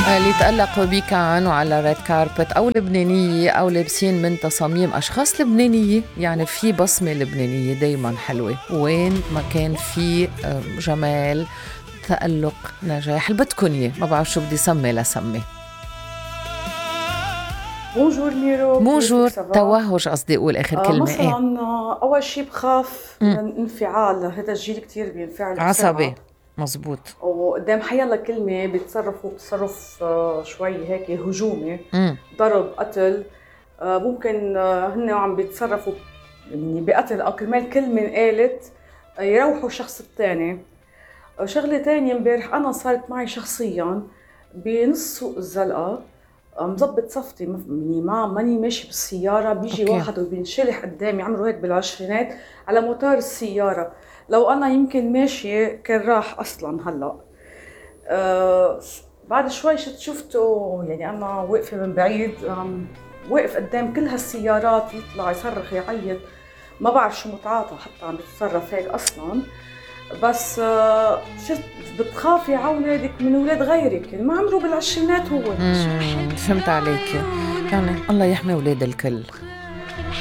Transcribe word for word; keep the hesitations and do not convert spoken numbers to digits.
اللي تألقوا بكان وعلى ريد كاربت أو لبنانية أو لابسين من تصاميم أشخاص لبنانية، يعني في بصمة لبنانية دايما حلوة وين ما كان في جمال تألق نجاح اللي بدكن إياه. ما بعرف شو بدي سمي لسمي. بونجور ميرو. بونجور. توهج قصدي أقول آخر آه كلمة. مثلا إيه؟ أول شي بخاف من الانفعال، هذا الجيل كتير بينفعل عصبي. مزبوط. وقدام حيالله كلمة بيتصرفوا تصرف شوي هيك هجومي، مم. ضرب، قتل، ممكن هن عم بيتصرفوا يعني بقتل أو كرمال كلمة قالت يروحوا الشخص الثاني. شغلة تانية امبارح أنا صارت معي شخصيا بنص سوق الزلقة، مزبط صفتي يعني ما ماني ماشي بالسيارة، بيجي أوكي. واحد وبينشلح قدامي عمره هيك بالعشرينات على موتور السيارة، لو أنا يمكن ماشية كان راح أصلاً. هلأ أه بعد شوي شت شفته يعني أنا واقفة من بعيد، واقف قدام كل هالسيارات يطلع يصرخ يعيط، ما بعرف شو متعاطى حتى عم بتصرف هيك أصلاً. بس أه شفت بتخافي على أولادك من أولاد غيرك يعني ما عمره بالعشرينات هو. فهمت عليك، يعني الله يحمي أولاد الكل.